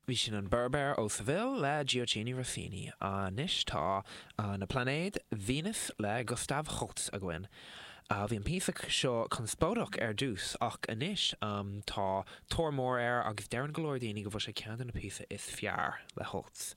Bhí sin an Berber ó Seville le Gioachino Rossini. Anois tá Na Pláinéid Venus le Gustav Holst againn. Bhí an píosa seo conspóideach ar dtús ach anois tá tóir mór air agus deireann go leor daoine go bhfuil sé ceann de na píosa is fearr le Holst.